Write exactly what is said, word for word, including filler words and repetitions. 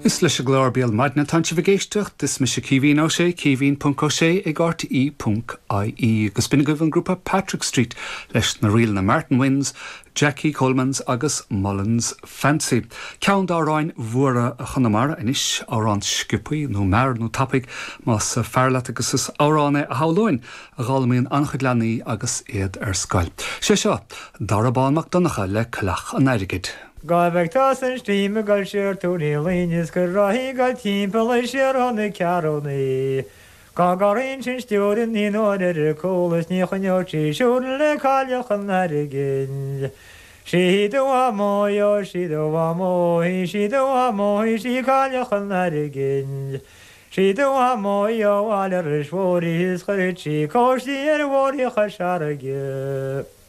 Is leis an gclár Béal Maidine atá sibh ag éisteacht is mise Caoimhín Ó Sé caoimhín ponc ó sé ag RTÉ ponc IE agus b'in agaibh an grúpa Patrick Street leis na ríleanna Martin Wins, Jackie Colemans agus Mullins Fancy. Ceann d'amhráin mhóra Chonamara anois amhrán sciobtha nó mear nó tapaidh más fearr leat agus is amhrán é a shamhlóinn a d'fhoghlaimíonn an-chuid leanaí agus iad ar scoil. Sé seo Dara Bán Mac Donncha le Coileach an Airgid. Gá bheith tá san stíim go siar túní línis go raí go timppla siar na cearúnaí. Gá garíon sin stiúrin ní nóir ar cólas ní chuneotí siúr le cailleach an airgid. Sí do mó sí do mó sí do mó sí cailleach an airgid. Sí do mó áile is mhórí is chuir sí cóistí ar mhórí chu searige.